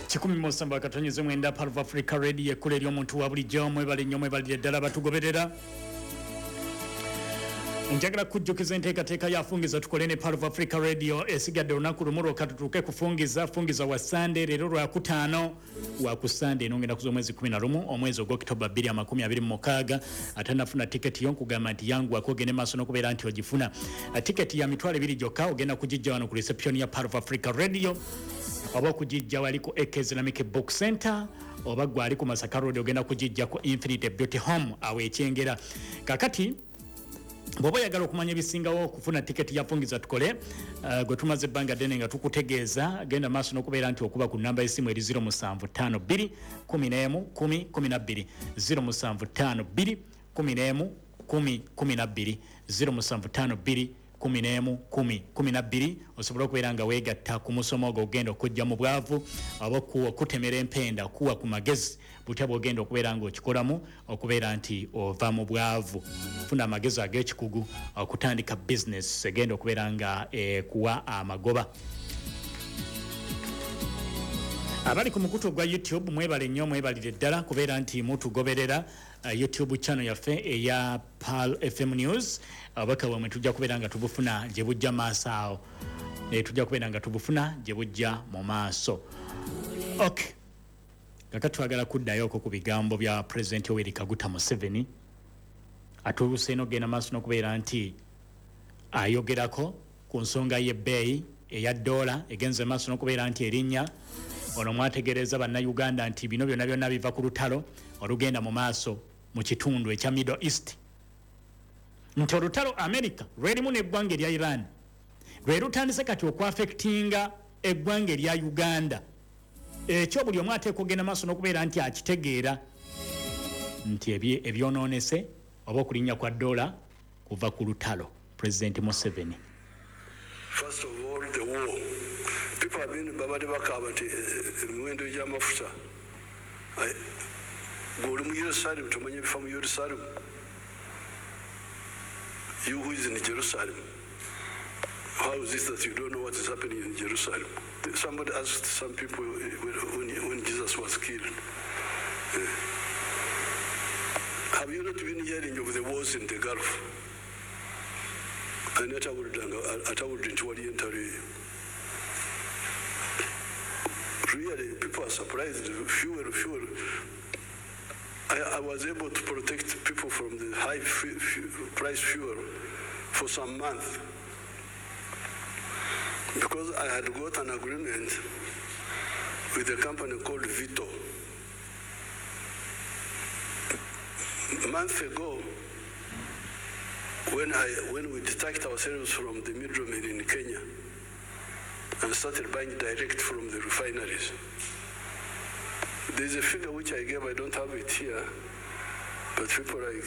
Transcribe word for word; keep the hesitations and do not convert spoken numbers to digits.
Kikumi musanvu akatonyeze mwenda Pearl of Africa Radio, ekkula ery'omuntu wa bulijjo. Mwebale nnyo, mwebalire ddala batugoberera. Njagala kujjukiza enteekateeka ya Fungiza Tukole ne Pearl of Africa Radio. Esigadde olunaku lumu lwokka tutuuke kufungiza. Fungiza wa Sande, leero lwakutaano, wa ku Sande eno ngenda kuza omwezi kumi na lumu omwezi ogw'Okitoba bbiri amakumi abiri mu mukaaga. Atanafuna tiketi yo nkugamba nti yanguwako ogende maaso n'okubeera nti ogifuna. Tiketi ya mitwalo ebiri gyokka, ogenda kugijja wano ku reception ya Pearl of Africa Radio oba okugijja wali ku A K Islamic Book Center, oba gwe ali ku Masaka Road ogenda kugijja ku Infinite Beauty Home awo Ekyengera. Kakati bw'oba oyagala okumanya ebisingawo okufuna tiketi ya Fungiza Tukole, uh, gwe tumaze ebbanga ddene nga tukutegeeza, genda maaso n'okubeera nti okuba ku namba y'essimu eri zero musanvu ttaano bbiri kumi n'emu kumi kumi na bbiri, zero musanvu ttaano bbiri kumi n'emu kumi kumi na bbiri, zero musanvu ttaano bbiri kumi n'emu kumi kumi na bbiri, osobole okubeera nga weegatta ku musomo ogwo ogenda okujja mu bwavu oba okutemera empenda, kuwa ku magezi butya bwogenda okubeera nga okikolamu okubeera nti ova mu bwavu. Funa amagezi ag'ekikugu okutandika bizinesi egenda okubeera nga ekuwa amagoba. Abali ku mukutu gwa YouTube, mwebale nnyo, mwebalire ddala kubeera nti mutugoberera. uh, youtube channel yaffe eya Pearl F M News, obubaka bwamwe tujja kubeera nga tubufuna gye bujja maaso awo. e, tujja kubeera nga tubufuna gye bujja mu maaso. Ok, kaka twagala kuddayoko ku bigambo bya Pulezidenti Yoweri Kaguta Museveni atuuse n'okugenda maaso n'okubeera nti ayogerako ku nsonga y'ebbeeyi eya ddoola egenze maaso n'okubeera nti erinnya. Ono mwategereza Bannayuganda nti bino byonna byonna biva ku lutalo olugenda mu maaso mu kitundu ekya Middle East, nti olutalo America lwerimu n'eggwanga erya Iran lwe lutandise kati okwaffectinga eggwanga erya Uganda. Ekyo buli omu ateeka okugenda maaso n'okubeera nti akitegeera nti ebyonoonese oba okulinnya kwa ddoola kuva ku lutalo. Pulezidenti Museveni. First of all, the war. People have been babadde bakaaba nti emiwendo gy'amafuta. Gwe oli mu Yerusalemu, tomanyi ebifa mu Yerusalemu? You who is in Jerusalem, how is it that you don't know what is happening in Jerusalem? Somebody asked some people when, when Jesus was killed, have you not been hearing of the wars in the Gulf? Ani atawulidde nti waliyo entalo eyo? Really, people are surprised. Fuel, fuel. I, I was able to protect people from the high fu- fu- price fuel for some months because I had got an agreement with a company called Vito. A month ago, when, I, when we detached ourselves from the middlemen in Kenya and started buying direct from the refineries, there's a figure which I gave, I don't have it here, but people like